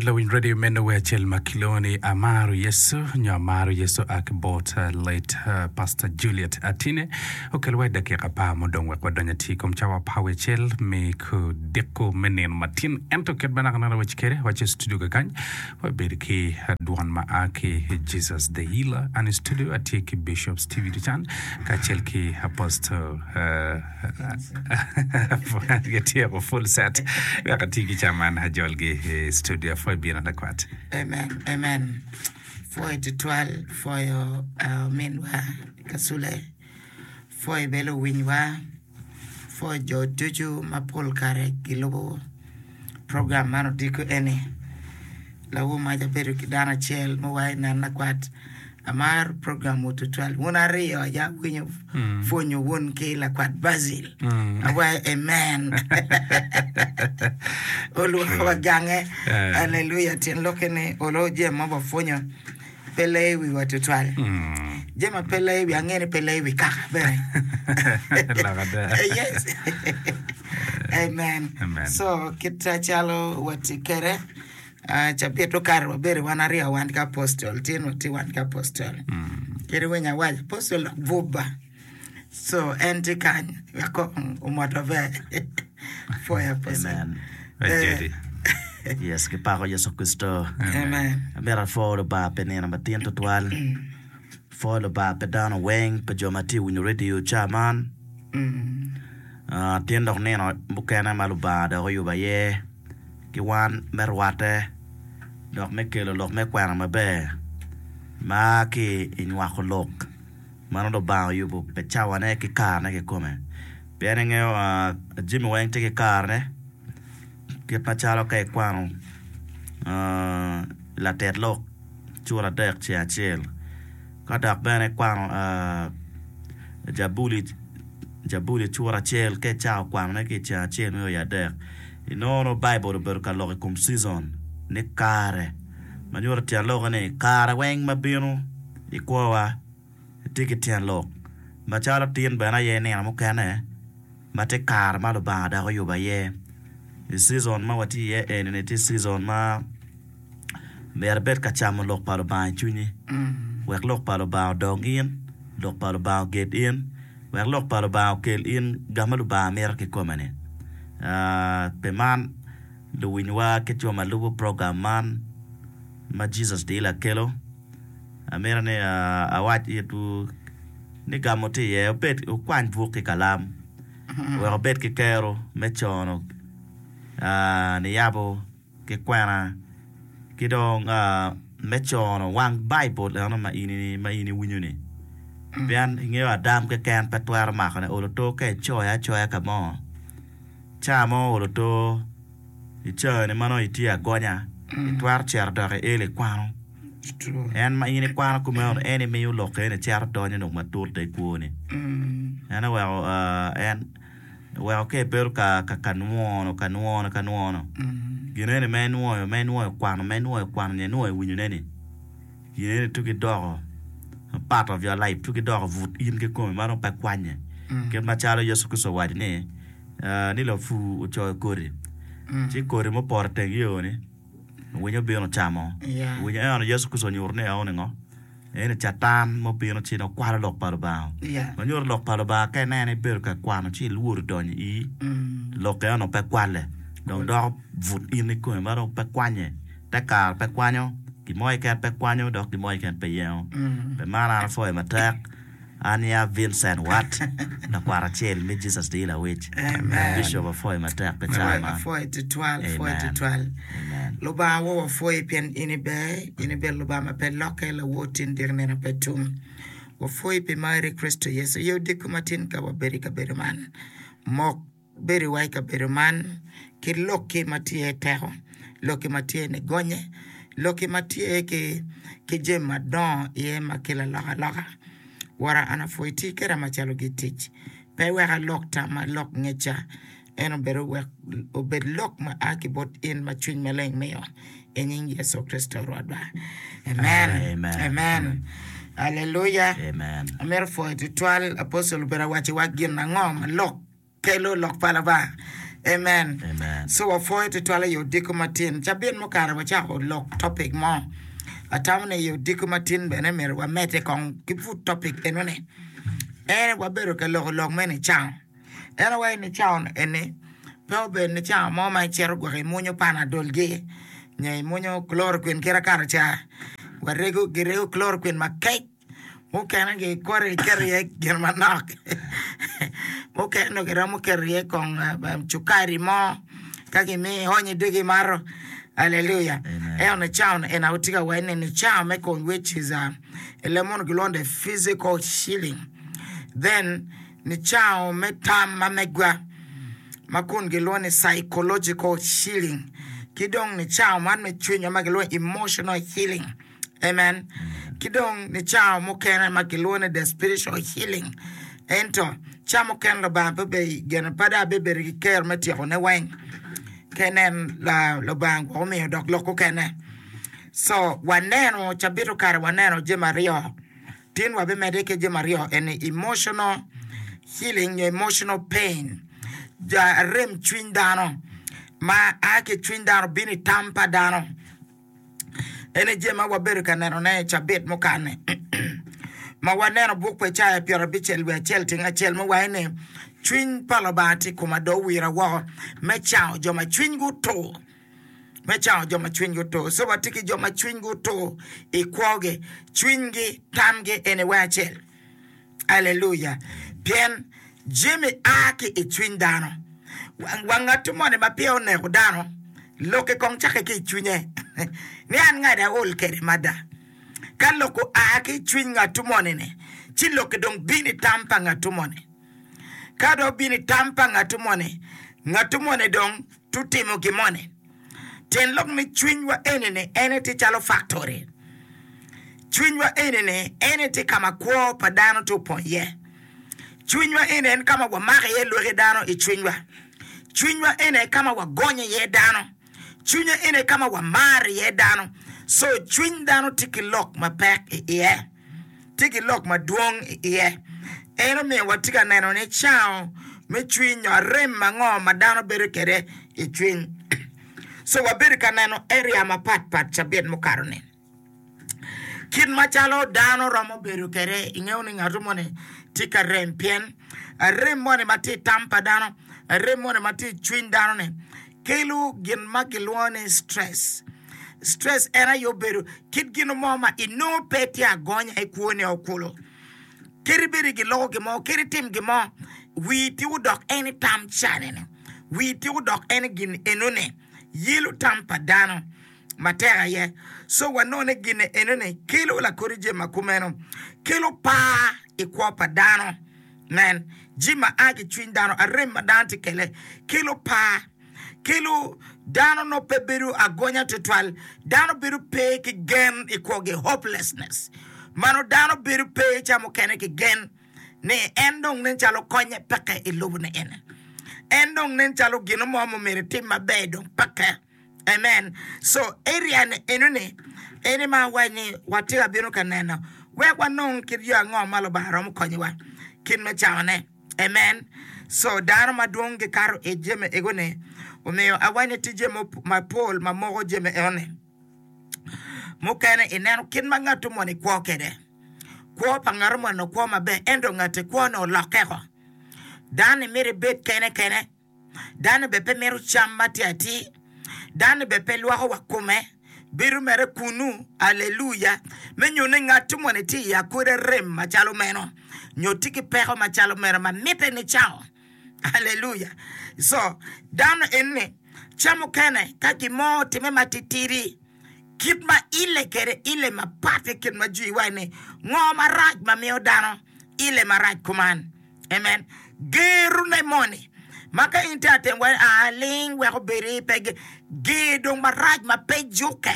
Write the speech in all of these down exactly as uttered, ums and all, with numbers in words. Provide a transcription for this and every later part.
Lawiny radio meno wer acel ma kilwongo ni Amaro Yecu nyo Amaro Yecu a ki bot late Pastor Juliet Atine okel wa i dakika apar mudong wek wadony atir i kom cawa apar wiye acel me kudiko me nino matin ento kit ma naka neno waci kwede waci i studio kakany wabedo ki dwon ma a ki Jesus the Healer an i studio atye ki Bishop Stevie Ducan kacel ki Apostle Gityeko full set wek ati ki ca man ajolgi i studio apwoyo bino lakwat. Amen, amen. Pwoyo tutwal, pwoyo uh, ominwa Kasule, pwoyo bene luwinywa, pwoyo jo ducu ma pol kare gilubo program man odiko eni. Lawo mac abedo ki dano acel muwaco nen lakwat amaro program wu tutwal wun aryo aye awinyo pwonyo wun ki lakwat Basil awaco amen olwongo wa gange aleluya tyen lokke ni olo jami ma wapwonyo pe leyo wiwa tutwal jami ma pe leyo wiwa ange ni pe leyo wi kaka bene Lok ada. yes amen Amen. so kit calo watye kwede Ah, cabit okato wabedo wan aryo wan ki apostol tin watye wan ki apostol kadi winyo awaco apostol dok bubba so en tye kany wek kong omot maber pwoyo apostol Amen. Ajedi. Yes, kipako Yecu Kricito. amen Amito apwo Lubanga pi nino matin tutwal. Pwo Lubanga pi dano weng, pi jo ma tye winyo radio ca man. Ah, tin dok nino mukene ma Lubanga dok oyubo aye ki wan me rwatte dok me kelo lok me kwena maber ma ki i nywako lok mano Lubanga oyubo pi cawane ki karene kikome. Pien ingeyo ah, jami weng tye ki karene kit macalo ka ikwano ah, latet lok cura adek ceng acel ka dok bene ikwano ah, jabuli jabuli cura acel ka icako kwanone ki i ceng acel me o i adek inongo nongo Baibul obedo ka lok i kom season ni kare ma nyuto tyen lokke ni kare weng ma bino i kwowa tye ki tyen lok macalo tin bene aye nino mukene ma tye kare ma Lubanga dok oyubo aye i season ma watye iye eni-ni tye season ma myero ibed ka camo lok pa Lubanga i cwinyi wek lok pa Lubanga odong in lok pa Lubanga oged in wek lok pa Lubanga okel in ga ma Lubanga mito kikome-ni. Ah, pi man luwinywa ki jo ma lubo program man ma Jesus the Healer kelo amito ni ah, awac itwu ni gamo tye iye obed wukwany buk ki kalam wek obed ki kero me cono ah, niyabo ki kwena ki dong ah, me cono wang Baibul eno ma in ma in iwinyo-ni pien ingeyo adam keken pe twero makone olo to ka icoyo acoya ka mo ca mo olo to icani ma nongo itye agonya itwero cito dok ielo ikwano en ma in ikwano kumeno en imiyo lok eni cito donyo dong matut i kwoni en oweko ah, en oweko ka ibedo ka ka ka nwono ka nwono ka nwono gin eni ma inwoyo ma inwoyo kwano ma inwoyo kwano nyo inwoyo winyone ni gin eni tuki doko part of your life tuki doko but in kikome ma dong pe kwanye kit macalo Yecu Kricito owaco ni ah, ni lapur ocoyo kodi ci kodi mupoto i teng yo ni winyo obino ocamo Yeah. winyo eno Yecu Kricito onyuto ni eno ni ngo eni catan mubino ci dong kwalo lok pa Lubanga Yeah. ma nyuto lok pa Lubanga ka ineno ibedo ka kwano ci ilworo donyo i lok eno pe kwale dong doko but in ikome ma dong pe kwanye te kare pe kwanyo gin mo keken pe kwanyo dok gin mo keken pe yengo pi man an apwoyo matek an ya Vincent Watt lakwat acel me Jesus the Healer Witch Amen. Bishop apwoyo matek pi cawa man Apwoyo tutwal, apwoyo Amen. tutwal. Amen. Lubanga wo wapwoyi pien in iber, in ibedo Lubanga ma pe lokke, lawor tin dyek nino pe tum. Wapwoyi pi mari Kricito Yecu. Ye odiko matin ka wabedo i kabedo man. Mok bedo wa i kabedo man ki lokki ma tye teko, lokki ma tye nigonye, lokki ma tye ki, ki jami madongo iye ma kelo alokaloka. Wora an apwoyi ti keda macalo gitic. Pe wek alok tamma, lok ngecca. En obedo wek obed lok ma a ki bot in ma cwiny maleng miyo i nying Yecu Kricito Rwotwa. Amen. Amen. Amen. Aleluya. Amen. Amito pwoyo tutwal apostol obedo awaco wa gin ango ma lok kelo lok pa Lubanga. Amen. Amen. So wapwoyo tutwal i odiko matin. Cabit mukare wacako lok topic mo. Atamo ni i odiko matin bene myero wamedde kong ki pud topic enoni. En wabedo ka loko lok me nicango. En awaco nicango eni pe obedo nicango mo ma icito gwok imunyo panadol gi nyo imunyo chloroquine kit akato ca warego girego chloroquine makec mukene gikwoto giketo iye gin manok mukene dong giromo keto iye kong cukari mo ka gimiyo ionyo i dogi imato. Aleluya. Amen. Ento nicango eni atye ka waco ni nicango me kom which is uh, i leb munu gilwongo the physical healing. Then nicango me tam ma megwa ma kun gilwongo ni psychological healing ki dong nicango man me cwinywa ma gilwongo ni emotional healing. Amen. Ki dong nicango mukene ma gilwongo ni the spiritual healing. Ento ca mukene Lubanga pe be gene pe dong abibedo ki kero me tyekone weng. Ka inen la Lubanga gwok omiyo dok lok okene. So waneno cabit okato waneno jami aryo. Tin wabimedde ki jami aryo eni emotional healing nyo emotional pain. Ja arem cwiny dano ma a ki i cwiny dano bino i tam pa dano. Eni jami ma wabedo ka nenone i cabit mukane. Ma waneno buk pa Icaya pyerabicel wiye acel tyeng acel ma waco ni cwiny pa Lubanga tye i koma dong owira woko me cango jo ma cwinygi otur. Me cango jo ma cwinygi otur. So watye ki jo ma cwinygi otur i kwogi, cwinygi, tamgi eni weng acel. Aleluya. Pien jami a ki i cwiny dano. Wa ngat moni ma peya oneko dano, lokke kong cakke ki i cwinye. Ni an ngada aol kwede mada. Ka lok oa ki i cwiny ngat moni-ni, ci lokke dong bino i tam pa ngat moni. Ka dong obino i tam pa ngat moni, ngat moni dong tutimo gin moni. Tyen lok ni cwinywa eni-ni en aye tye calo factory. Cwinywa eni-ni en aye tye ka ma kwo pa dano tye opong iye. Cwinywa eni en ka ma wamako iye lwaki dano i cwinywa. Cwinywa eni aye ka ma wagonyo iye dano. Cwinywa eni aye ka ma wamaro iye dano. So cwiny dano tye ki lok mapek i iye, tye ki lok madwong i iye. En omiyo watye ka neno ni cango me cwiny nyo arem ango ma dano bedo kwede i cwiny. So wabedo ka neno area mapat pat cabit mukato-ni. Kit macalo dano romo bedo kwede, ingeyo ni ngat moni tye ka rem pien arem moni ma tye i tam pa dano, arem moni ma tye i cwiny dano-ni kelo gin ma kilwongo ni stress. Stress en aye obedo kit gin mo ma inongo pe tye agonya i kwoni o kulu. Kadi bed giloko gin mo, kadi itim gin mo, wii tye odok en i tam cani-ni, wii tye odok en i gin enoni, yelo tam pa dano matek aye. So wanongo ni gin enoni kelo lakodi jami ma kumeno, kelo par i kwo pa dano. Nen, jami ma a ki cwiny dano, arem ma dano tye kele, kelo par, kelo dano nongo pe bedo agonya tutwal, dano bedo pe ki gen i kwogi, hopelessness. Mano dano bedo pe ca mukene ki gen ni en dong nen calo konye peke i lobo ni eni. En dong nen calo gin mo ma myero etim maber dong peke. Amen. So area ni enoni eni ma awaco ni watye ka bino ka neno wek wanong kit yo ango ma Lubanga romo konyowa kit me cangone. Amen. So dano madwong gikato i jami ego-ni, omiyo awaco ni tye jami mapol ma moko jami enoni. Mukene ineno kit ma ngat moni kwo kwede. Kwo pa ngat moni okwo maber ento ngati kwone olokke-ko. Dano-ni mito ebed kene kene. Dano bene pe mito cam ma tye atir. Dano bene pe lwoko wa kome, bedo mere kunnu. Aleluya! Me nyuto ni ngat moni tye i akoda rem macalo meno, nyo tye ki peko macalo meno ma mitte ni cango. Aleluya! Co, dano eni, ca mukene ka gin mo otimme matitidi, kit ma ile kwede ile mapat ki kit ma jwi waco ni, Ngo marac ma miyo dano ile marac kuman? Amen. Gerone moni ma ka in tye atem waco aa ling wek obedi pe ger dong marac ma pe jukke.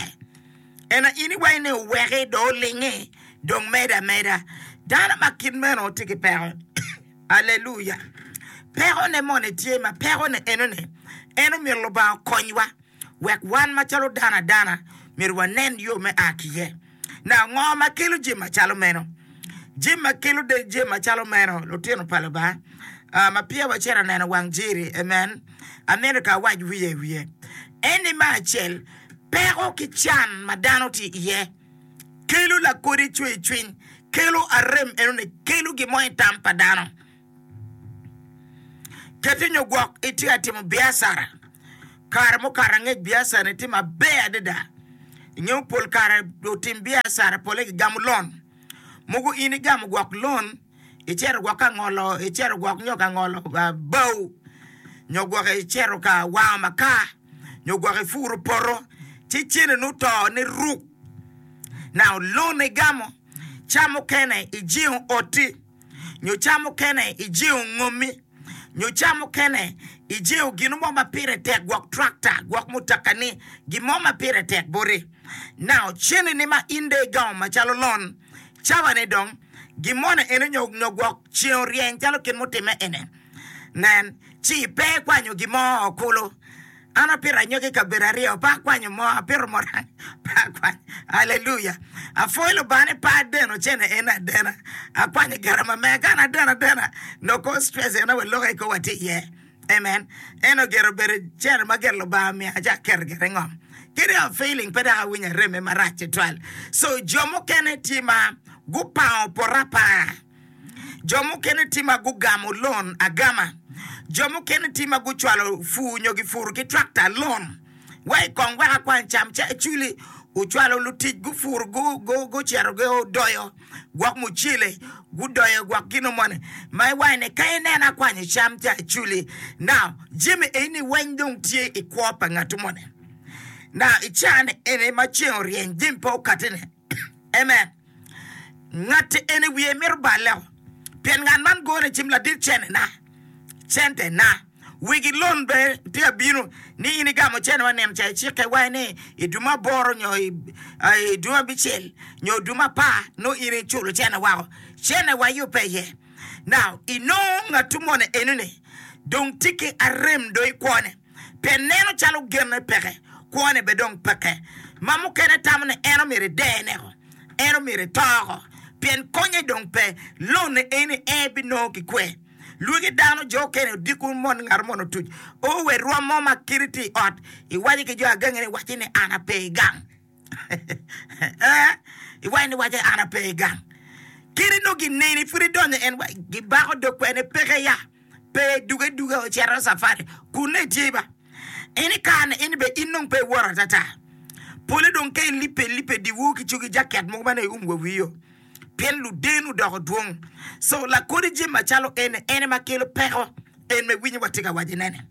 Ena in iwaco ni oweki dong olingi dong medo ameda. Dano ma kit meno tye ki peko. Aleluya. Pekone moni tye ma pekone enoni en omyero Lubanga okonywa. Wek wan macalo dano adana myero wanen yo me a ki iye. Now, ngo ma kelo jami macalo meno? Jami ma kelo jami macalo meno, lutino pa Lubanga, uh, ma peya wacito neno wang jiri, amen, Amito ka awac wiye wiye. Eni me acel, peko ki can ma dano tye iye kelo lakodi cwercwiny, kelo arem enoni, kelo gin mo i tam pa dano. Keti nyo gwok itye ka timo biacara, kare mukato angec biacarani tye maber adada. Ingeyo pol kare lutim biacara pole gigamo lon. Mogo in igamo gwok lon, icito gwok ka ngolo, icito gwok nyo ka ngolo bao, nyo gwok icito ka wango makar, nyo gwok ipuro poto, ci cene nongo oto ni ruk. Now lon igamo, ca mukene ijingo oti, nyo ca mukene ijingo ngomi, nyo ca mukene ijingo gin mo ma pire tek, gwok tractor, gwok mutoka-ni, gin mo ma pire tek boti. Now cene-ni ma in dong igamo macalo lon, cawa-ni dong gin moni eni nyo nyo gwok ceng oryeny calo kit mutimme eni. Nen, ci pe ikwanyo gin mo kulu. An apito anyogi i kabedo aryo, pe akwanyo mo, apito muranga, pe akwanyo. Aleluya! Apwoyo Lubanga ni pe adeno cene eni adena, akwanyo garama mega. Ka an adeno adena, nongo kor stress ena wa lok aye kor watye iye. Amen. Ento gire obedo cene ma gire Lubanga omiya ci aketo gire i ngom. Kadi a failing pe dok awinyo aremme marac tutwal. So jo mukene tye ma gupango poto apanga. Jo mukene tye ma gugamo loan agama. Jo mukene tye ma gucwalo pur nyo gipuro ki tractor loan. Wai kong wek akwany cam ca eculi ocwalo lutic gupuro gucito gudoyo gwok mucele gudoyo gwok gino moni ma iwaco ni ka ineno akwanyo cam ca eculi. Now jami eni weng dong tye i kwo pa ngatu moni. Now i caa-ni eni ma ceng oryeny jami pe okati-ni. Amen. Ngatti eni wiye mito balle-o, pien ngat man gone cim ladit cente-na, cente-na. Wegi lon bene tye ka bino ni in igamo cente wa nino ca icikke wa ni i dwe me aboro nyo i dwe me abicel nyo dwe me apar nongo in iculo cente wako. Cente wa yubbe iye. Now inongo ngatu moni enoni dong tye ki arem dong i kwone. Pien neno calo genne peke, kwone bene dong peke. Ma mukene tamo ni en omyero edene-ko, en omyero eto-ko, pien konye dong pe. Lone eni en binongo ki kwe. Lwegi dano jo okene odiko mon ngat mono otuc o we rwom mo ma kite tye i ot, iwaco ki jo agangi ni wacce ni an ape i gang. Ee, iwaco ni wacce an ape i gang. Kadi nongo gineni pud idonyo en wa gibako dog kwene peke ya. Pe duge duge ocito cafari kunne itye ba. En i kare ni in be in dong pe iworo atata. Pole dong ka ilipe lipe diwor ki cogi jaket mogo ma nongo ium wa wiyo pien luden odoko dwong. So lakodi jami macalo eni en aye ma kelo peko en ma iwinyo watye ka waco nene.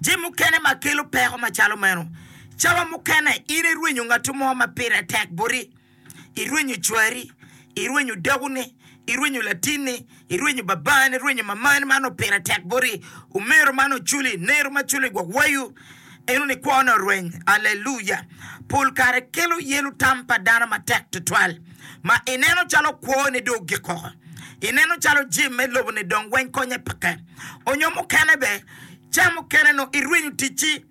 Jami mukene ma kelo peko macalo meno cawa mukene in irwenyo ngatu mo ma pire tek boti. Irwenyo cwari, irwenyo dakoni, irwenyo latinni, irwenyo babani, irwenyo mamani man opire tek boti, omero man oculi, nero ma culi gwok wayu, eno ni kwone orweny. Aleluya! Pol kare kelo yelo tam pa dano matek tutwal ma ineno calo kwoni dong ogik woko. Ineno calo jami me lobo-ni dong weng konye peke. Onyo mukene be, ca mukene nongo irwenyo ticci.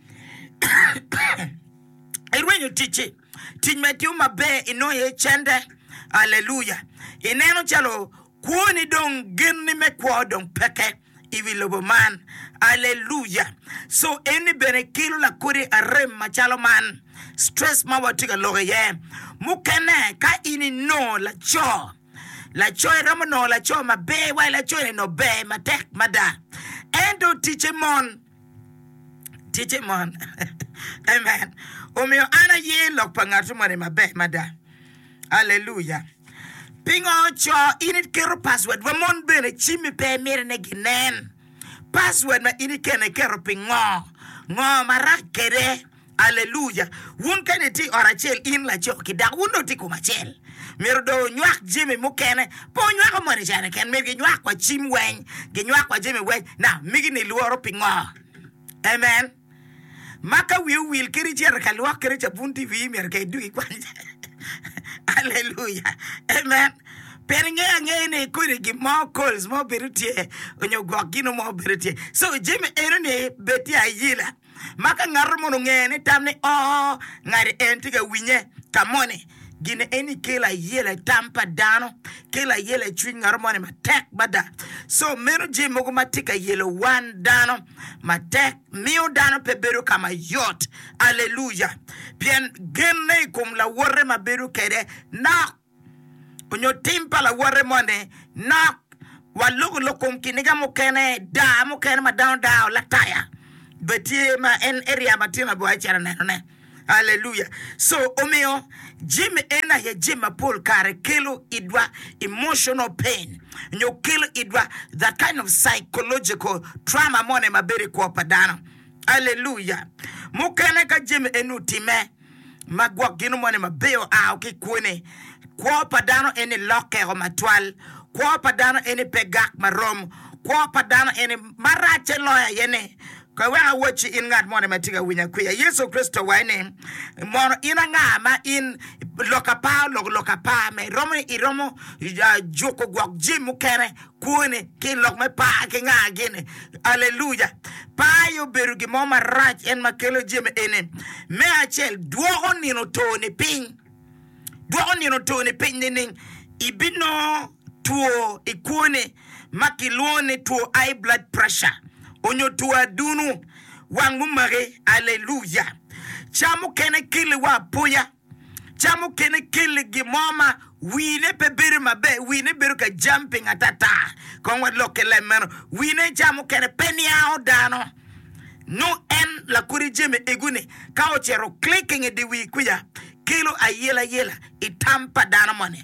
Irwenyo ticci. Tic ma itimo maber inongo iye cente. Aleluya! Ineno calo kwoni dong genni me kwo dong peke i wi lobo man. Aleluya! So eni bene kelo lakodi arem macalo man, stress ma watye ka lok iye. Mukene ka in inongo laco, laco iromo nongo laco maber wa laco eni nongo ber matek mada ento ticce mon. Ticce mon. Amen. Omiyo an aye lok pa ngat moni maber mada. Aleluya. Pingo co in iketo password wa mon bene cimmi pe imito ni ginen? Password ma in ikene iketo pi ngo? Ngo marac kede? Aleluya. Wun kany itye i ot acel in laco ki dako wun dong wutye i kom acel. Myero dong wunywak jami mukene. Pe wunywako moni ca keken, myero ginywak wa cim weng, ginywak wa jami weng. Now, migi ni lworo pingo? Amen. Ma ka wii owil kadi icito ka lwok kede cabun tye i wii myero ka idug ikwany. Aleluya. Amen. Pien ingeyo angeya ni kodi gin mo calls mo bedo tye onyo gwok gino mo bedo tye. So jami eno ni bed tye ayila. Ma ka ngato mono ongeyo ni tam ni oo ngati en tye ka winye ka moni Gin eni kelo ayela i tam pa dano, kelo ayela i cwiny ngat moni matek mada. So meno jami mogo ma tye ka yelo wan dano matek miyo dano pe bedo ka mayot. Aleluya! Pien genne i kom lawote ma bedo kwede nok, onyo tim pa lawote moni nok. Waloko lok kom kiniga mukene, daa mukene ma dano dao lataya bene tye ma en area ma tye mabor icito nenone. Aleluya! So omiyo jami en aye jami ma pol kare kelo idwa emotional pain nyo kelo idwa that kind of psychological trauma moni ma bedo i kwo pa dano. Aleluya! Mukene ka jami eni otime ma gwok gino moni maber oa ki i kwoni, kwo pa dano eni lokkeo matwal, kwo pa dano eni pe gak marom, kwo pa dano eni maracce loyo aye ni, Ka wek awacci in ngat moni ma tye ka winyo akwiya, Yecu Kricito owaco ni, Mono in anga ma in lok apar oloko lok apar me iromo ni iromo juko gwok jami mukene kwoni ki i lok me par ki nga gini? Aleluya! Par aye obedo gin mo marac en ma kelo jami eni. Me acel, dwoko nino toni piny. Dwoko nino toni piny nining? Ibinongo two i kwoni ma kilwongo ni two high blood pressure onyo two adunu wang mumaki. Aleluya! Ca mukene keli wa apoya, ca mukene keli gin mo ma wine pe bedo maber, wine bedo ka jumping atata. Kong walok ki leb meno, wine ca mukene pe niango dano. Nongo en lakodi jami ego-ni ka ocito clicking i dye wi kwica kelo ayelayela i tam pa dano moni.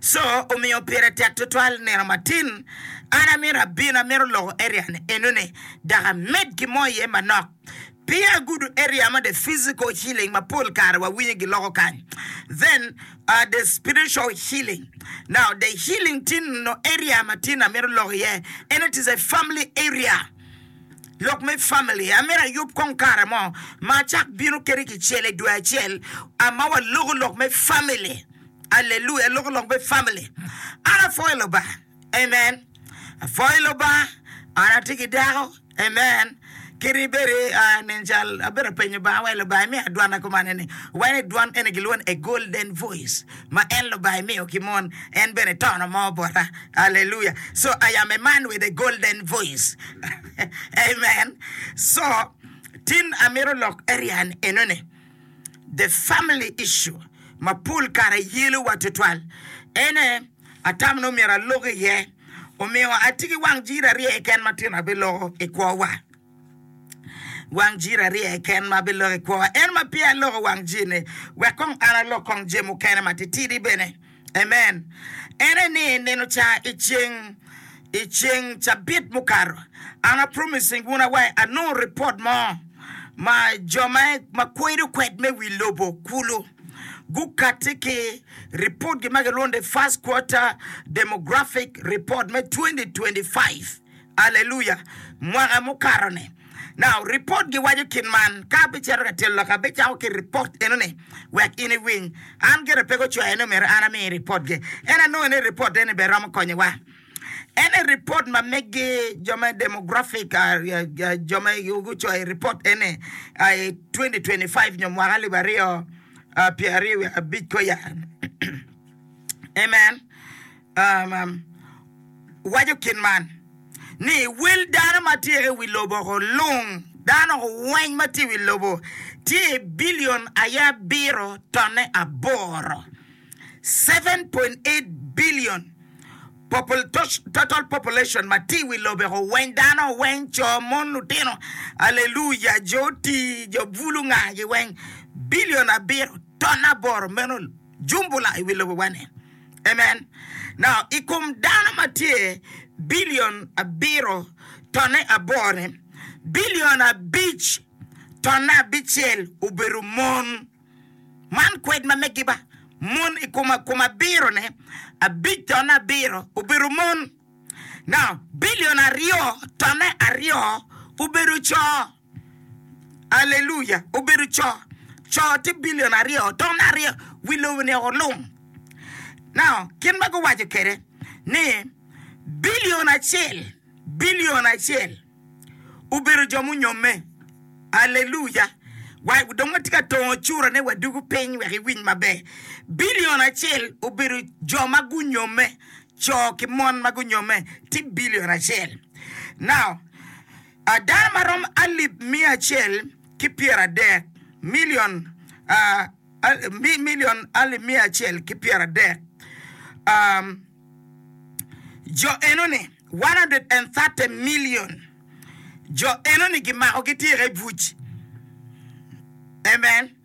So omiyo pire tek tutwal nino matin an amito abin amito loko area ni eno ni dok amed ki mo iye manok peya agudo area ma the physical healing ma pol kare wawinyo giloko kany then uh, the spiritual healing now the healing tin no area matin amito loko iye and it is a family area lok me family amito ayub kong kare mo ma acak bino kede kicel i dwe acel ma waloko lok me family. Aleluya, loko lok me family. An apwoyo Lubanga. Amen. Apwoyo Lubanga. An atye ki dako. Amen. Kadi bed uh, nen cal abedo apenyo Lubanga wai Lubanga imiyo dwana kumane ni wai ni dwan eni gilwongo ni a golden voice ma en Lubanga imiyo ki mon en bene tono mo bota. Aleluya. So I am a man with a golden voice. Amen. So tin amito lok area ni enoni. The family issue ma pol kare yelo wa tutwal ene atamo ni omyero alok iye omiyo atye ki wang jiri aryo keken ma tino abiloko i kwowa wang jiri aryo keken ma abiloko i kwowa en ma peya aloko wang jiri ni wek kong an alok kong jami mukene matitidi bene Amen. En aye ni nino ca i ceng i ceng cabit mukato, an a promising wun awaci anongo report mo ma jo ma ma kwedo kwed me wi lobo kulu gukati ki report gi ma gilwongo ni first quarter demographic report me twenty twenty five. Aleluya! Mwaka mukato-ni. Now, ripot giwaco kit man, ka abicito ka tyelo lok, abicako ki ripot eno-ni wek in iwiny. An gire pe gucwaya ni myero an ami ripotgi. En anongo ni ripot eni bene romo konyowa. En aye ripot ma megi jo me demographic, jo ma gucoyo ripot eni i twenty twenty five nyo mwaka alip aryo pyera aryo wiye abic koya. Amen. Um, waco kit man ni, Wel dano ma tye i wi lobo oko lung, dano weng ma tye i wi lobo tye i bilion aye abiro tonne aboro, seven point eight billion total population ma tye i wi lobo oko weng, dano weng, co, mon, lutino, aleluya, jo oti, jo bulu, ngagi weng, bilion abiro tonne aboro meno jumbula i wi lobo-wa-ni. Amen. Now, i kom dano ma tye bilion abiro tonne aboro-ni, bilion abic tonne abicel obedo mon. Man kwed ma megi ba. Mon i kom kom abiro-ni, abic tonne abiro obedo mon. Now, bilion aryo tonne aryo obedo co. Aleluya! Obedo co. Co tye bilion aryo, ton aryo, wi lobo-ni olung. Now, kit ma guwaco kwede ni bilion acel, bilion acel obedo jo munyomme. Aleluya! Wa dong watye ka tongo curane wadugo piny wek iwiny maber. Bilion acel obedo jo ma gunyomme, co ki mon ma gunyomme tye bilion acel. Now, uh, dano ma rom alip miya acel ki pyeradek, million, uh, al, mi, million alip miya acel ki pyeradek, um, jo enoni one hundred and thirty million jo enoni gimako gitye i buc. Amen.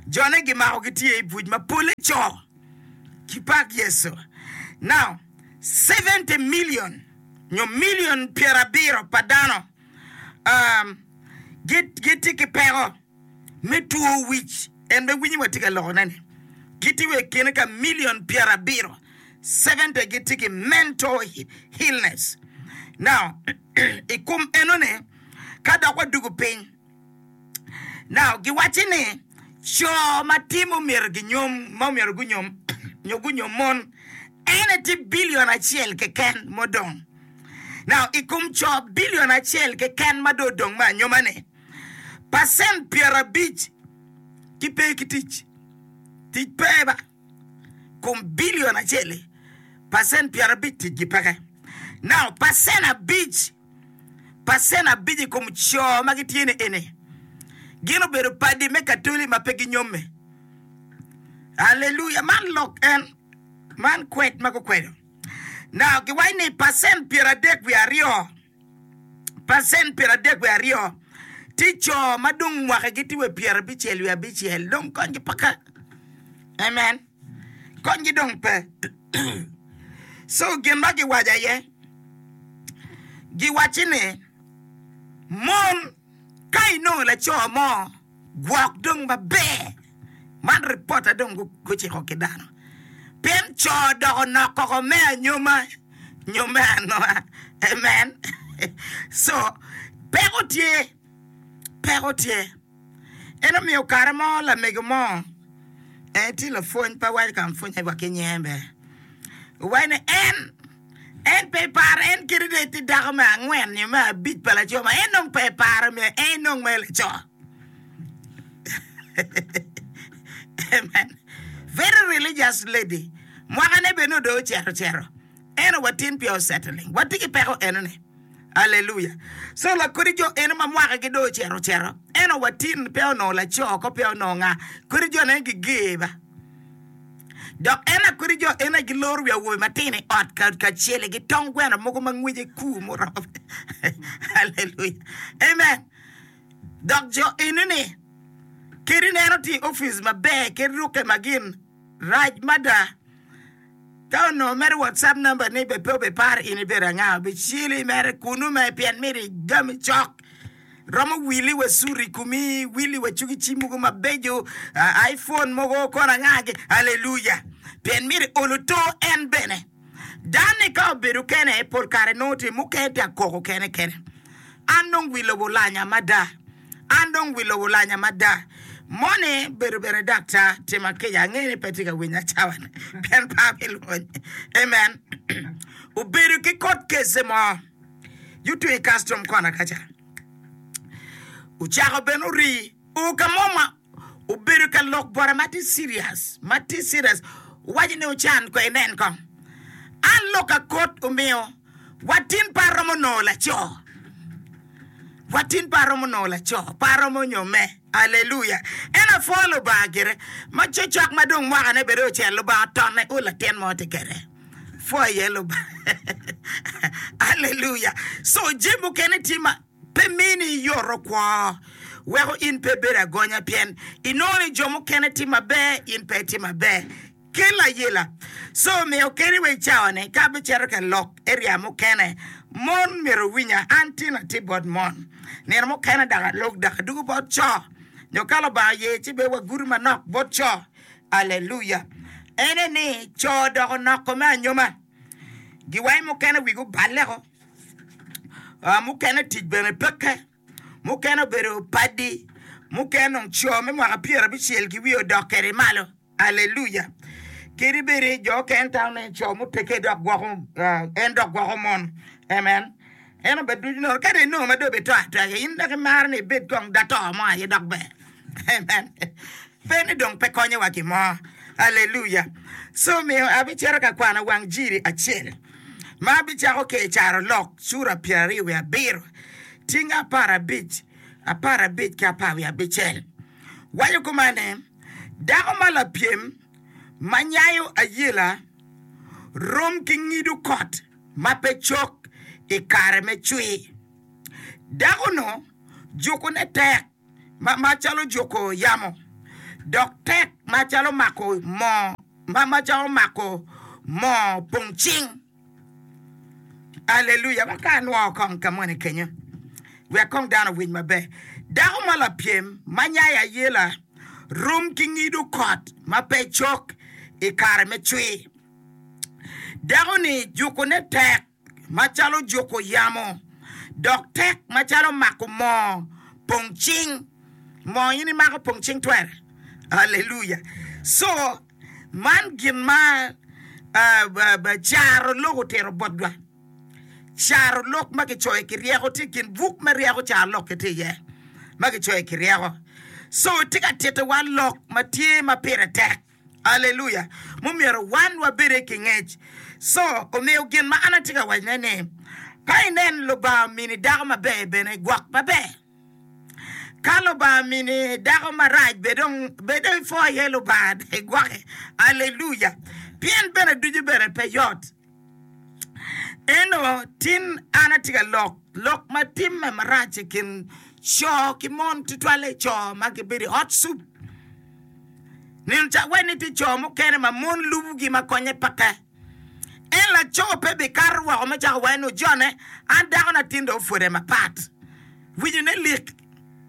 Jone gimako gitye i buc ma pole co ki pak Yecu. Now, seventy million nyo million pyerabiro pa dano um, gitye ki peko me two wic. En be winyi watye ka lokone-ni. Gitye wa i kine ka million pyerabiro, seventy gitye ki mental illness. Now, i kom enoni, ka dok wadugo piny, now, giwaco ni co ma timo myero ginyom, ma myero gunyom, nyo gunyom mon, en tye bilion acel keken modong. Now, i kom co bilion acel keken ma dong odong me anyoma-ni, pacent pyerabic ki pe ki tic. Tic pe ba. Kom bilion acel-li, pacent pyerabic ticgi peke. Now, pacent abic, pacent abic i kom co ma gitye ni eni, gin obedo padi me Katoli ma pe ginyomme. Aleluya! Man lok en, man kwed ma gukwedo. Now, giwaco ni pacent pyeradek wiye aryo, pacent pyeradek wiye aryo tye co ma dong mwakagi tye wa pyerabicel wiye abicel, dong konygi peke. Amen. Konygi dong pe. So gin ma giwaco aye, giwacci ni mon ka inongo laco mo gwok dong maber. Man ripota dong guciko ki dano. Pien co doko nok koko me anyoma nyo me anonga. Amen. So peko tye, peko tye. En omiyo kare mo lamego mo, en tye lapwony pe waco ka pwonye wa ki nyinge be. Owaco ni en, en pe paro, en kadi dong etye dako me angwen nyo me abic pa laco ma en dong pe paro myero en nong mere laco. Amen. Very religious lady. Mwakane bene dong ocito cito. Eno watin pi osettling. Watye ki peko enoni. Aleluya. So lakodi jo eno ma mwakagi dong ocito cito. Eno watin pe onongo laco ko pe onongo nga. Kodi jo ne giger ba. Dok en akodi jo eno giloro wi awobe matino i ot ka kacel ki tong gweno mogo ma ngwece kur muromo. Aleluya. Amen. Dok jo eno ni kadi neno tye i opic maber kadi rukke ma gin rac mada. Ka onongo mere WhatsApp number ni be pe obiparo in ibedo anga, obicili mere kunu me pien mito igami cok. Romo wili wa suit i komi, wili wa cugi cim mogo mabeco, uh, iPhone mogo kono angagi. Aleluya. Pien mito olo to en bene. Dani ka obedo kene, pol kare nongo tye mukene tye akoko kene kene. An dong wi lobo olanya mada. An dong wi lobo olanya mada. Moni bedo bene daktar tima kica angeyo ni pe tye ka winya cawa-ni pien pe abilwonye. Amen. Obedo ki court case mo yuto i custom kona kaca. Ocako bene ori o ka mo ma obedo ka lok bote ma tye serious, ma tye serious. Owaco ni ocan ko inen kong. An lok akot omiyo watin pe aromo nongo laco. Watin pe aromo nongo laco, pe aromo nyomme. Aleluya. En apwoyo Lubanga gire. Ma cocok ma dong mwakane bene ocel, Lubanga otonne o latin mo tye kwede. Pwoyo iye Lubanga. Aleluya. So jami mukene tye ma pe mini yoto kwo, weko in pe ibedo agonya pien inongo ni jo mukene tye maber, in pe itye maber. Kel ayela. So omiyo kadi wa i cawa-ni ka abicito ka lok area mukene, mon myero owinya. An tin atye bot mon. Nino mukene dok alok dok adwogo bot co. Nyo ka Lubanga oye ci bene wagudo manok bot co. Aleluya. Ene ni co dok onoko me anyoma. Giwaco mukene wigi oballe-ko. Uh, mukene tic bene peke. Mukene obedo padi. Mukene dong co me mwaka pyerabicel ki wiye odok kwede malo. Aleluya. Kadi bed jo okene tamo ni co muteke dok gwoko en dok gwoko mon. Amen. En obed ducu nono. Kadi inongo ma dong ibito atoya, in dok imaro ni ibed kong dato mo aye dok ber. Amen. Pe ni dong pe konyowa gin mo. Aleluya. So miyo abicito ka kwano wang jiri acel ma abicako ki i Carolok cura pyeraryo wiye abiro, tyeng apar abic, apar abic ki apar wiye abicel. Waco kuman ni, Dako ma lapyem ma nyayo ayela rom ki ngido kot ma pe cok i kare me cwir. Dako-nu jukone tek macalo juko yamo, dok tek macalo mako moo macalo mako moo pong cing. Aleluya! Wek ka anwo kong ka moni kenyo, wek kong dano owiny maber. Dako ma lapyem ma nyayo ayela rom ki ngido kot ma pe cok i kare me cwir. Dako-ni jukone tek macalo juko yamo, dok tek macalo mako moo pong cing. Moo in imako pong cing twere? Aleluya! So, man gin ma caro lok otito botwa. Caro lok ma kicoyo ki ryeko tye i kin buk me ryeko caro lok tye iye ma kicoyo ki ryeko. So, tye ka titowa lok ma tye ma pire tek. Aleluya! Mumyero wan wabede ki ngec. So, omiyo gin ma an atye ka wacone ni, ka inen Lubanga omini dako maber bene gwok maber. Ka Lubanga omini dako marac be dong bed dong ipwo iye Lubanga dong igwoke. Aleluya! Pien bene ducu bene pe yot. Ento tin an atye ka lok lok ma timme marac i kin co ki mon, tutwalle co ma gibedo i ot cup. Nino ca wek ni tye co mukene ma mon lubogi ma konye peke. En laco pe bikato woko me cako waco ni ojone, an dakona tin dong opwode mapat. Winyone lik.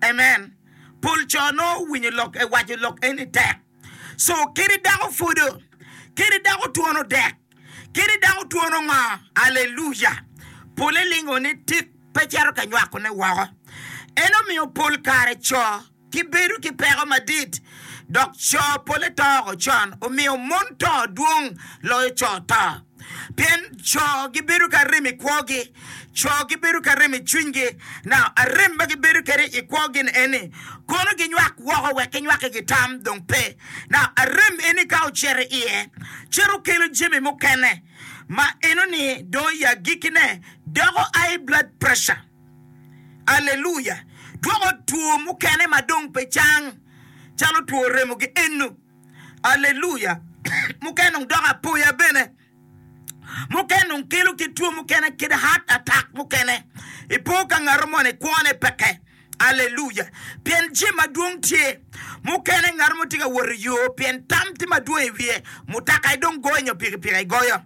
Amen. Pol co nongo winyo lok, waco lok eni tek. So kadi dako pwodo, kadi dako twono dek, kadi dako twono ngo, aleluya, pole lingo ni tik pe cito ka nywakone woko. En omiyo pol kare co gibedo ki peko madit, dok co pole to oko con, omiyo mon to dwong loyo co to. Pien co gibedo ki arem i kwogi, co gibedo ki arem i cwinygi. Now, arem ma gibedo kwede i kwogi-ni eni, kono ginywak woko wek ginywake gitam dong pe. Now, arem eni ka ocito iye, cito kelo jami mukene ma enoni dong i agikkine doko high blood pressure. Aleluya! Dwoko two mukene ma dong pe cang, calo two remogi eno. Aleluya! Mukene dong doko apoya bene. Mukene dong kelo kit two mukene, kit heart attack mukene. Ipo ka ngato moni kwone peke. Aleluya! Pien jami madwong tye. Mukene ngato mo tye ka wot i yo pien tam tye madwong i wiye, mutoka dong goyo nyo pikipiki goyo.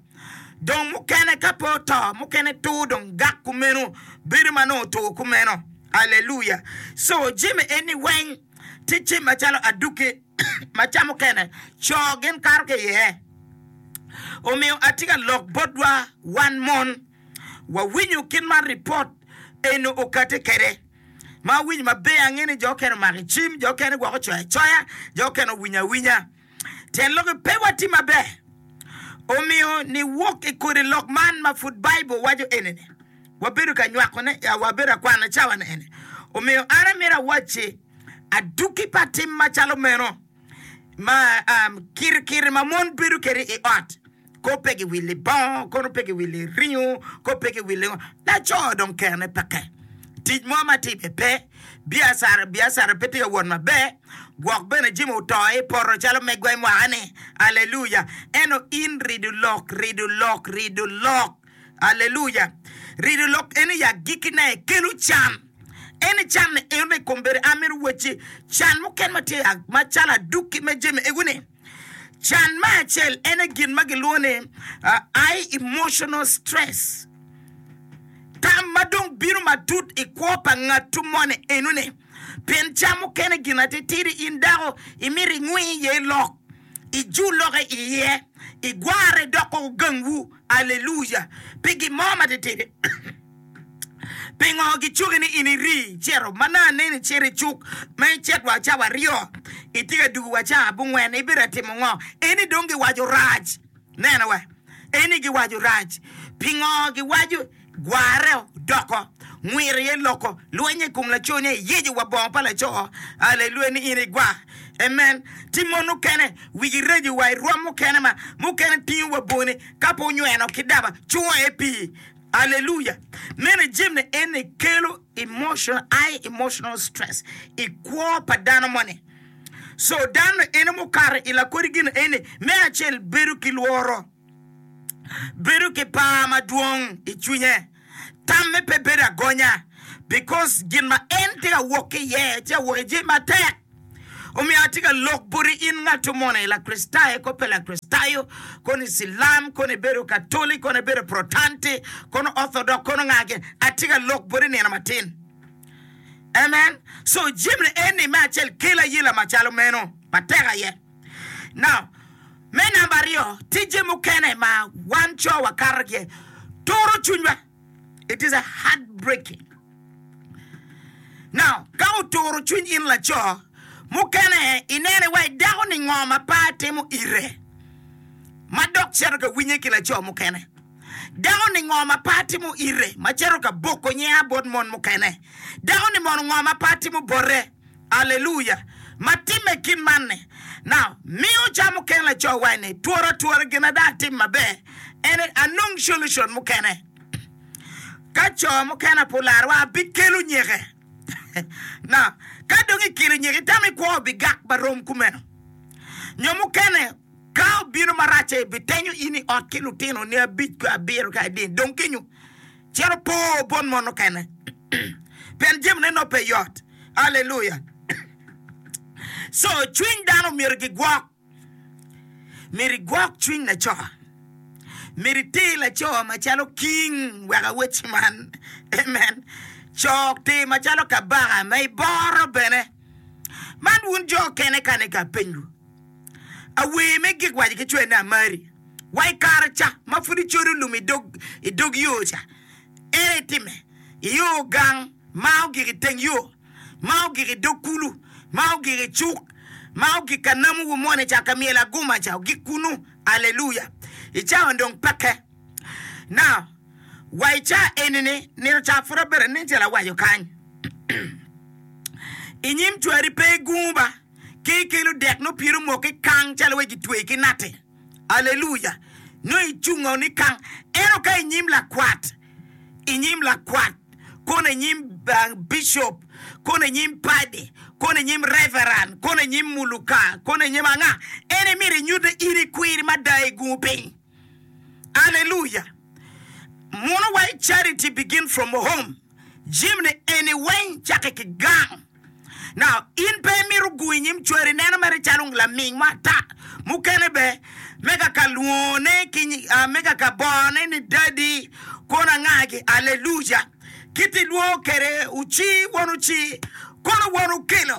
Dong mukene ka pe oto, mukene tur dong gak kumeno, bedo ma nongo otur kumeno. Aleluya! So jami eni weng tye jami macalo aduki ma ca mukene co gin kato ki iye. Omiyo atye ka lok botwa wan mon, wawinyo kit ma ripot eno okate kwede. Ma awinyo maber, angeyo ni jo okene omako i cim, jo okene gwok ocoyo acoya, jo okene owinyo awinya. Tyen lokke pe watye maber. Omiyo niwok i kodi lok man ma pud Baibul waco eni-ni, wabedo ka nywakone, wabedo ka kwane cawa-ni eni. Omiyo an amito awacci, adwogi pa tim macalo meno ma kirikiri ma mon bedo kwede i ot, ko pe giwili bongo, kono pe giwili ringo, ko pe giwili ngo, laco dong kerone peke. Tic mo ma timme pe, biacara biacara pe tye ka wot maber, gwok bene jami oto i poto calo megwa i mwaka-ni. Aleluya! Ento in rido lok, rido lok, rido lok. Aleluya! Rido lok eni i agikkine kelo can. En i can-ni eno i kombeddi an mito wacci can mukene ma tye macalo adwogi me jami ego-ni. Can me acel en aye gin ma gilwongo ni high emotional stress, tam ma dong bino matut i kwo pa ngatu moni enoni. Pien ca mukene gin atitidi in dako imito ingwi iye lok, ijul lokke iye, igwarre dok ogangwu. Aleluya! Pi gin mo matitidi. Pingo gicuki ni in iri icito ma nongo aneni icito i cuk ma icit wa cawa aryo itye ka dugo wa cawa abongwen ibedo ka timo ngo? Eni dong giwaco rac. Neno wa. Eni giwaco rac. Pingo giwaco Gwarre doko, ngwir iye loko, lwenye i kom laco ni eyeco wa bongo pa laco. Aleluya ni in igwa. Amen. Ti mon mukene wigi reco wa i rwom mukene ma mukene tingo wa boni ka pe onyweno ki daba cungo aye pii. Aleluya. Meno jami eni kelo emotional, high emotional stress i kwo pa dano moni. So dano eno mukato i lakodi gin eni me acel bedo ki lworo, bedo ki par madwong i cwinye, tamme pe bedo agonya because gin ma en tye ka wok ki iye tye ka wok i jami matek. Omiyo atye ka lok boti in ngat moni, Lakricitayo ko pe Lakricitayo, kono Icilam, kono ibedo Katoli, kono ibedo Protanti, kono Orthodox, kono nga gin, atye ka lok boti nino matin. Amen. So jami eni me acel kelo ayela macalo meno matek aye. Now, me namba aryo, tije mukene ma wan co wakato ki iye, turo cwinywa. It is a heartbreaking. Now, ka oturo cwiny in laco, mukene inene wa idako ni ngo ma pe atimo ire, ma dok cito ka winye ki laco mukene. Dako ni ngo ma pe atimo ire, ma cito ka boko nyinga bot mon mukene. Dako ni mono ngo ma pe atimo bote. Aleluya! Ma timme kit man-ni. Now, miyo ca mukene laco waci ni, Twora twora gin ada atim maber, en anong solution mukene. Ka co mukene pe olarwa, abikelo nyeke. Now, ka dong ikelo nyeke, itamo ni kwo obigak marom kumeno? Nyo mukene, ka obino marac-ce, bitenyo in i ot ki lutinoni abic ki abiro ki adek, dong kenyo cito po bot mon mukene. Pien jamine nongo pe yot. Aleluya! So, cwiny dano myero gigwok. Myero igwok cwiny laco. Myero iter laco macalo king wek awecci man. Amen. Co ter macalo kabaka ma iboro bene. Man wun jo kene kane ka apenywu. Awer me gik waco ki cwer ni amari. Wa i kare ca ma pud icodo lum i dog yo ca, en aye itime. Iyo gang ma ogik i teng yo, ma ogik i dog kulu, ma ogik i cuk, ma ogik ka namowu moni ca, ka myel aguma ca, ogik kunu. Aleluya! I cawa-ni dong peke. Now, wa i ca eni-ni, nino ca pud abedo anen calo awaco kany. I nyim cwari pe igungu ba, ki ikelo dek nongo pyeri omok ki kang calo wai gitweyi ki natti. Aleluya! Nongo icungo ni kang. Ento ka i nyim lakwat, i nyim lakwat, kono i nyim bicop, kono i nyim padi, kono i nyim reveran, kono i nyim muluka, kono i nyim anga, en imito inyute in ikwiri mada i gungu piny. Aleluya! Muno wa i charity begin from home. Jami ni eni weng cakke ki gang. Now, in pe imito gungo i nyim cwari neno mere calo laming mo ata. Mukene be, me ka ka lwongone ki, uh, me ka ka bone ni daddy, kono anga-gi, aleluya. Kit ilwongo kede oci, won oci, kono won okelo,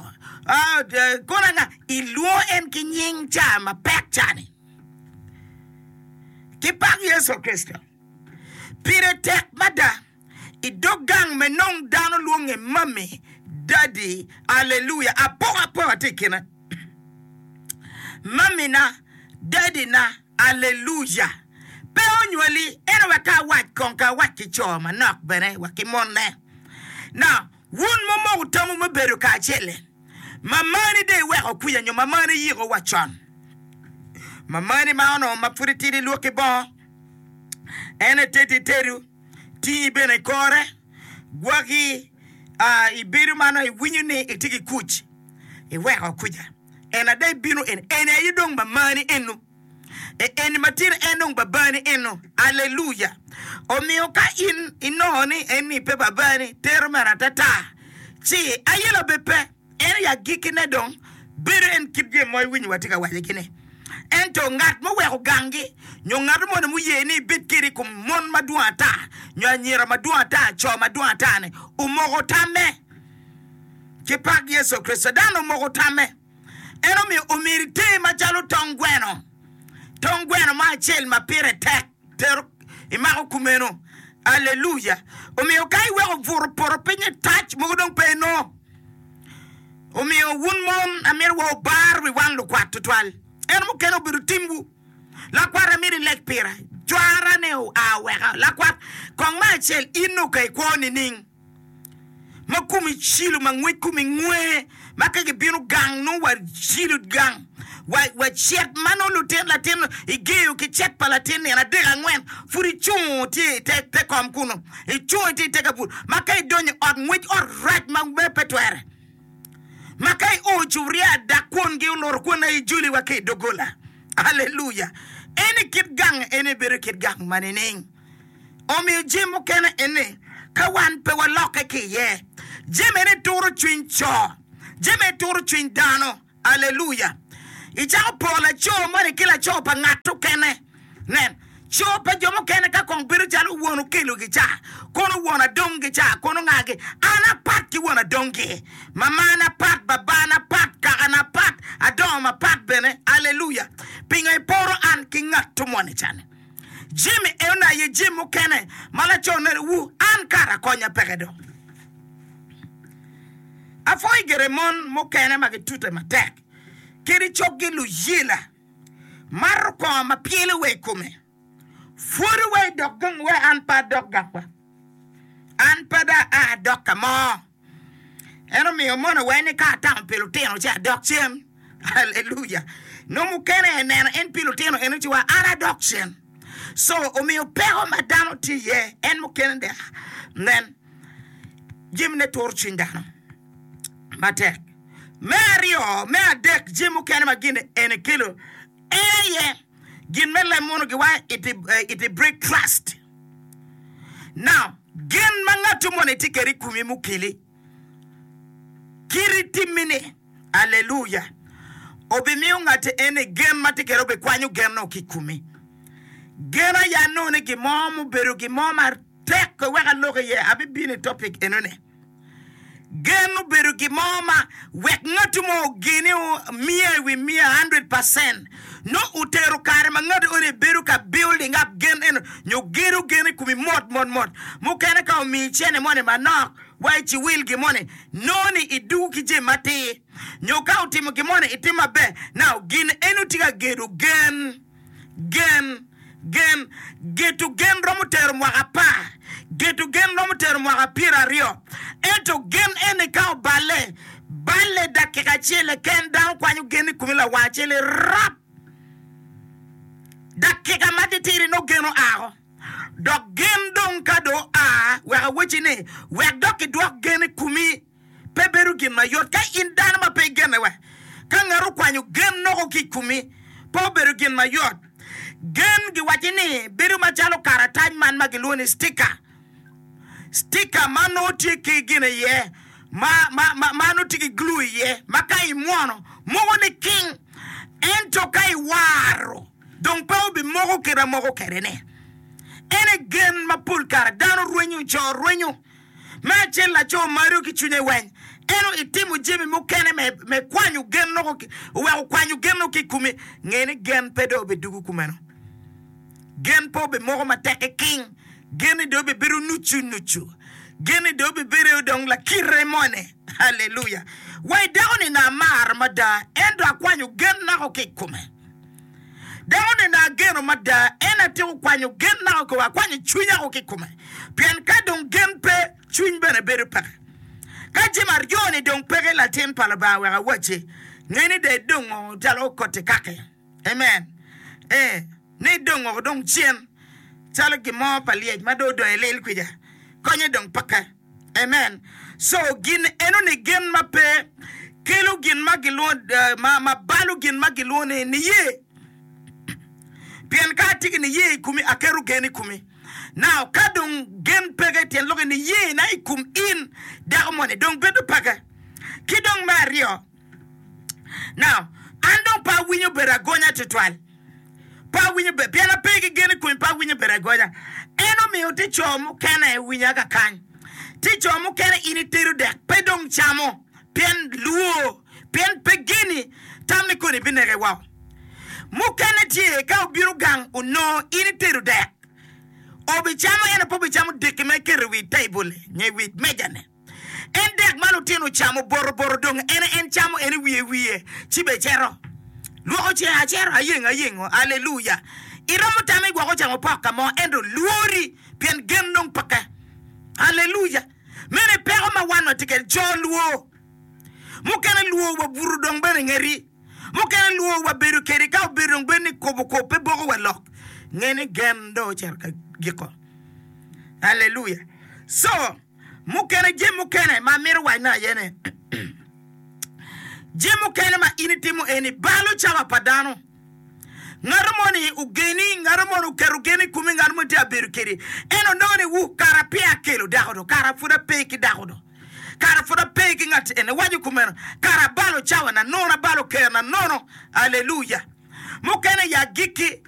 uh, kono anga, ilwongo en ki nying ca mapek ca-ni. Ki pak Yecu Kricito. Pire tek mada i dog gang me nong dano lwonge mami, dadi, aleluya, apokapoka tye i kine. Mamina, dadina, aleluya. Pe onywali, ento wek ka awac kong ka awac ki co manok bene wa ki monne. Now, wun mumoko tamwu me bedo kacel-li, mamani dong iweko kwica nyo mamani yiko wa con. Mamani ma onongo ma pud itidi lwokki bongo, en etedi tedo, tingi bene i kore, gwaki, ah, ibedo ma nongo iwinyo ni itye ki kuc, iweko kuca. En ada ibino eni, eni aye dong mamani eno. E eni ma tye ni en dong babani eno. Aleluya! Omiyo ka in inongo ni eni pe babani, tero mere atata, ci ayela be pe. En i agikkine dong bedo en kit jami ma iwinyo watye ka wacogi-ni. Ento ngat muweko ganggi nyo ngat moni muye ni ibed kede i kom mon madwong ata nyo anyira madwong ata, co madwong ata-ni, omoko tamme. Ki pak Yecu Kricito, dano omoko tamme. En omiyo omyero iter macalo tong gweno, tong gweno mo acel ma pire tek tero imako kumeno. Aleluya! Omiyo ka iweko buto poto piny i tac mogo dong pe inongo. Omiyo wun mon amito wa wubar wi wan lukwat tutwal. En mukene obedo timwu. Lakwat amito ileg pira. Cwara ne oa weka lakwat kong me acel in nongo ka ikwo nining? Ma komi cilo ma ngwec komi ngwe ma ka gibino gang nongo wa cilo gang wa wa cet ma nongo lutin latin igeyo ki cet pa latin nino adek angwen pud icungo tye ite te kom kunu icungo itye ite kabuto ma ka idonyo i ot ngwec ot rac ma pe twere ma ka io cuburia dak kwongi oloro kwon aye ijoli wa ki i doggola. Aleluya! En i kit gang eni bedo kit gang ma nining? Omiyo jami mukene eni ka wan pe walokke ki iye, jami eni turo cwiny co, jami eni turo cwiny dano. Aleluya! Icako poro laco moni ki laco pa ngat okene. Nen, co pa jo mukene ka kong bedo calo won okelogi ca, kono won adonggi ca, kono ngagi. An apat ki won adonggi. Mamana pat, babana pat, kakana pat, adongo mapat bene. Aleluya! Pingo iporo an ki ngat moni cani? Jami enoni aye jami mukene ma laco neno, Wu, an kara konya peke dong. Apwoyo gire mon mukene ma gitute matek kadi cokgi luyela, mato kongo ma pyelo wa i kome, pwodo wa i dok gang wa an pe adok gangwa, an pe dong aa adok ka mo. En omiyo mono wa ni ka atamo pi lutino ci adok cen. Aleluya! Nongo mukene eneno en pi lutino eno ci wa an adok cen. So omiyo peko ma dano tye iye en mukene dek nen jamine turo cwiny dano matek. Me aryo, me adek jami mukene ma gin ene kelo en aye gin me lem mono giwaco it, it break trust. Now, gen ma ngat moni tye kwede i komi mukeli kiti timmi-ni, aleluya, obimiyo ngati eni gen ma tye kwede obikwanyo gen-nu ki i komi. Gen aye anongo ni gin mo mubedo gin mo matek wek alok iye, abibino i topic enoni. Gen obedo gin mo ma wek ngatu mo ogeni miya i wi miya, hundred percent, nongo otero kare ma ngatu eni bedo ka building up gen eno nyo gedo gen i komi mot mot mot. Mukene ka omiyi cene moni manok wa i ciwil gin moni nongo ni idugo ki jami matir nyo ka otimo gin moni itimo maber. Now gin eno tye ka gedo gen. Gen, gen, geto gen romo tero mwaka apar, geto gen romo tero mwaka pyeraryo, ento gen eni ka oballe, balle dakika acel keken, dano kwanyo gen i komi lawang acel rap! Dakika ma titidi nongo gen oako. Dok gen dong ka dong oa, wek awacci ni, wek dok kidwok gen i komi. Pe bedo gin mayot ka in dano ma pe igenne wa. Ka ngat okwanyo gen noko ki i komi, pe obedo gin mayot. Gen giwacci ni bedo macalo karatac man ma gilwongo ni sticker. Sticker ma nongo tye ki gin iye ma, ma, ma, ma nongo tye ki glue iye ma ka imwono moko niking ento ka iwaro dong pe obimoko kit ma moko kwede-ni. En aye gen ma pol kare dano rwenyo, co rwenyo. Me acel, laco maro ki cwinye weng. Ento itimo jami mukene me, me kwanyo gen noko, oweko kwanyo gen noko ki i komi. Nge ni gen pe dong obidugo kumeno. Gen pe obimoko matek ki king. Gen ni dong obibedo nucu nucu. Gen ni dong obibedo dong lakite moni. Haleluya! Wa i dako ni na amaro mada, ento akwanyo gen nako ki i kome. Dako ni na ageno mada, en atyeko kwanyo gen nako ki akwanyo cwinya ko ki i kome. Pien ka dong gen pe, cwiny bene bedo peke. Ka jami aryo-ni dong peke, latin pa Lubanga wek awacci, nge ni dong idongo calo koti kaki. Amen. Ee, ni idongo dong cen calo gin mo pa lyec ma dong odong i lil kwica. Konye dong peke. Amen. So gin enoni gen ma pe kelo gin ma gilwongo, ma, ma balo gin ma gilwongo ni niye. Pien ka atye ki niye i komi, aketo gen i komi. Now, ka dong gen peke, tyen lokke niye na i kom in dako moni dong bedo peke. Ki dong me aryo, now, an dong pe awinyo bedo agonya tutwal. Pe awinyo ber, pien ape ki gen i komi, pe awinyo bedo agonya. En omiyo tye co mukene winya kakany. Tye co mukene in itedo dek pe dong camo, pien lwor, pien pe geni, tam ni koni bineke woko. Mukene tye ka obino gang onongo in itedo dek, obicamo ento pe obicamo deki ma iketo i wi table-li nyo i wi meja-ni. En dek ma lutino ocamo botoboto dong en en camo en i wiye wiye ci bene cito lwoko cinge acito ayengo ayengo. Aleluya! Iromo tamo igwoko camo pok ka mo ento lwori pien gen dong peke. Aleluya! Meno aye peko ma wan watye kwede, jo lwor. Mukene lwor wa buto dong bene ngeti. Mukene lwor wa bedo kedi ka obedo dong bedo ni kobo kop pe boko wa lok. Nge ni gen dong ocito ka giko. Aleluya! So, mukene jami mukene ma amito wacone aye ni, jami mukene ma in itimo eni balo cawa pa dano. Ngato moni ogeni, ngato moni oketo gen i komi, ngato moni tye ka bedo kedi. En onongo ni, Wu, kara peya akelo dako do, kara pud ape ki dako do, kara pud ape ki ngat eni. Waco kumeno, kara abalo cawana nono, abalo kerna nono. Aleluya! Mukene i agikki.